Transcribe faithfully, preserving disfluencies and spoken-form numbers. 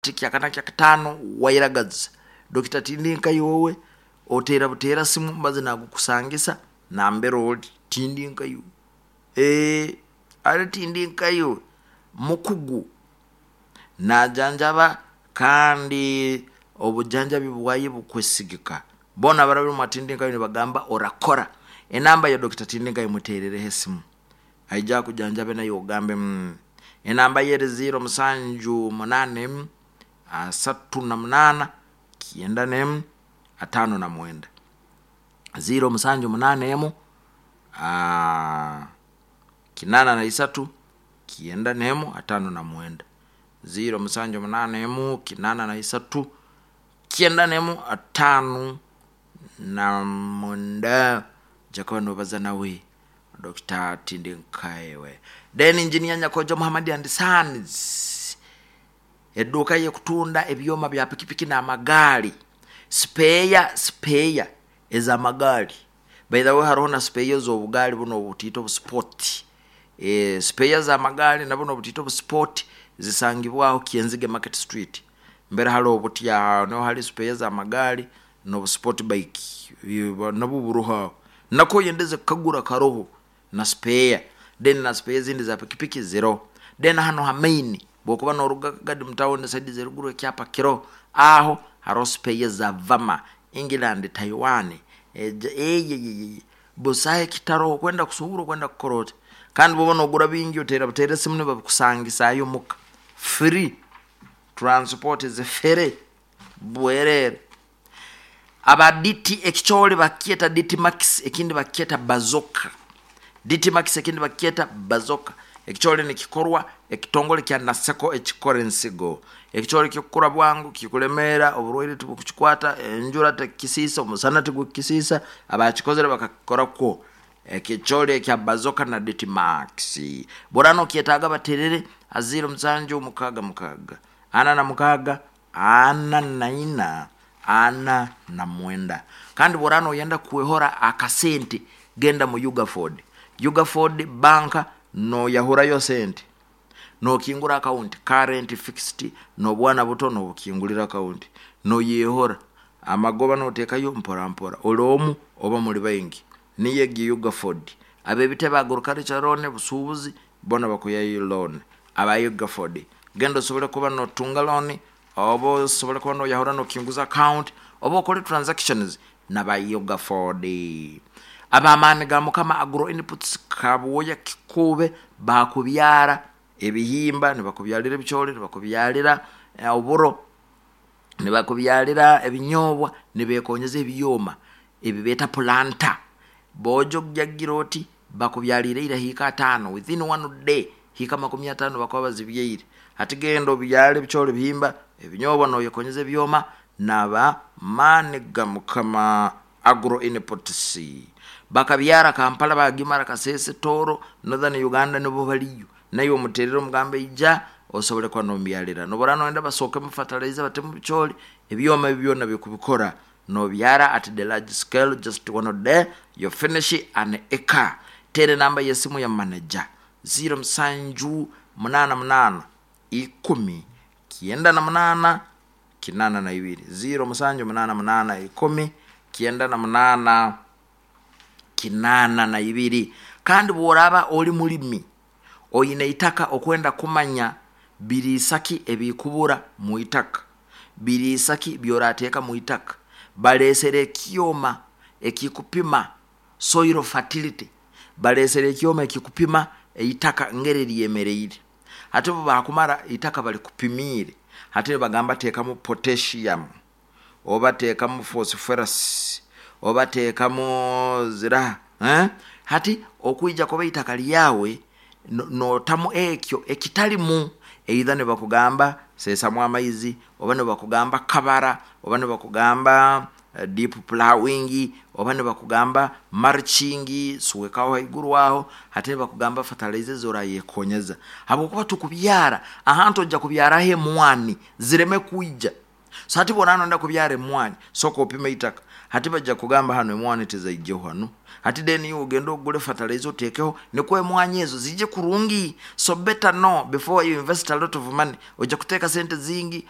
Kyakana kyakataano wairagaza Dokita Tindinkayo wowe oteera buteera simu maze nagukusangisa nambere oli. Tindinkayo ee ali Tindinkayo mukugu najanjaba, kandi obujanjabi bwaye bukwesigika. Bona abarabire mwa Tindinkayo nibagamba orakora. Enamba ya Dokita Tindinkayo muteerereho esimu, aija kujanjabe naye ogambe mm. Enamba ye eri ziro musanju munana emu asatu na munana kyenda nemu atano na mwenda, ziro musanju munana emu aa, kinana na isatu kyenda nemu atano na mwenda, ziro musanju munana emu kinana na isatu kyenda nemu atano na mwenda. Jakuba nobaza nawe Dokita Tindinkayewe. Then Engineer Nyakojo Muhammad and Sons, edduuka yekutunda ebyoma bya pikipiki n'amagaali, spare spare ez'amagaali. By the way, hariho na spare ez'obugaali buno obutiito obusport. e, spare z'amagaali na buno obutiito obusport zisangibwaho Kyenzige Market Street mbere hali obutya, niho hali spare z'amagaali n'obusport bike nabwo buroho aho. Nako oyendeze kukagura karoho na spare. Then na spare ezindi za pikipiki ziroho. Then hano ha main bwokuba noruga Kagadi mu town side zeruguru, ekyapa kiroho aho, haroho spare za Vama, England, Taiwan, eyeyeye, busaho ekitaroho. Kwenda kusuubura, okwenda kukora oti, kandi bwoba nogura bingi oteera buteera esimu nibabikusangisa muka free, transport is free, bwerere. Aba D T ekikyoli bakyeta D T Max, ekindi bakyeta Bazoka. D T Max ekindi bakyeta Bazoka. Ekikyoli nikikorwa ekitongole kya Naseko ekikora ensigo. Ekikyoli kikukura bwangu, kikulemeera, oburwaire tibukukikwata, enjura tekukisiisa, omusana tigukukisiisa. Abakikozere bakakikora kwo ekikyoli ekya Bazoka na D T Max. Bwora nokyetaaga baterere aziro musanju mukaaga mukaaga ana na mukaaga ana na ina ana na mwenda. Kandi bwora noyenda kwehora akasente, genda mu Ugaford. Ugaford banka noyahurayo sente nokingura account, current, fixed, nobwana buto nobukingulira account, noyehora amagoba notekayo mpora mpora, oli omu oba muli baingi. Niyo egi Ugaford. Abebitebe, agriculture loan, busuubuzi bona bakuyayo loan. Aba Ugaford, genda osobole kuba notunga loan oba osobole kuba noyahura nokinguza account oba okole transactions naba Ugaford. Abamaani ga Mukama Agro Inputs, Kabuoya Kikube, bakubyara ebihimba, nibakubyalira ebikyoli, nibakubyalira oburo, nibakubyalira ebinyobwa, nibekonyeza ebyoma ebi beeta planter. Bojo kujagira oti bakubyalire ira hiika atano within one day, hiika makumi atano bakuba bazibyaire. Hati genda obyale ebikyoli, ebihimba, ebinyobwa noyekonyeza ebyoma naba Maani ga Mukama Agro Inputs. Bakabyara Kampala, bagimara Kasese, Toro, Northern Uganda nibo baliyo. Naye omuterere omugambe ija osobole kuba nombyalira. Nobora noyenda basookemu fertilizer batemu bikyoli, ebyoma ebi byona bikubikora, nobyara at the large scale, just one day you finish an acre. Tere namba yesimu ya manager ziro musanju munana munana ikumi kyenda na munana kinana na ibiri, ziro musanju munana munana ikumi kyenda na munana kinana na ibiri. Kandi bworaba oli mulimi oyine itaka, okwenda kumanya biriisaki ebikubura mu itaka, biriisaki byorateeka mu itaka, balesere ekyoma ekikupima soil fertility, balesere ekyoma ekikupima eitaka ngeri lyemereire. Hati obu bakumara itaka balikupimiire, hati nibagamba teekamu potassium oba teekamu phosphorus oba teekamu ziraha, eh? Hati okwija kuba itaka lyawe notamu ekyo ekitalimu, either nibakugamba seesamu amaizi oba nibakugamba kabara oba nibakugamba deep plowing oba nibakugamba mulching, swekaho haiguru aho. Hati nibakugamba fertilizer zorayekonyeza, habwokuba tukubyara ahantu ojja kubyaraho emwani zireme kwija. So hati bwona nonda kubyara emwani, soka opime itaka. Hati bajja kugamba hano emwani tezaijeho hano. Hati then you ogenda ogule fertilizer oteekeho nikwo emwanyi ezo zijje kurungi. So better know before you invest a lot of money. Ojja kuteeka sente zingi.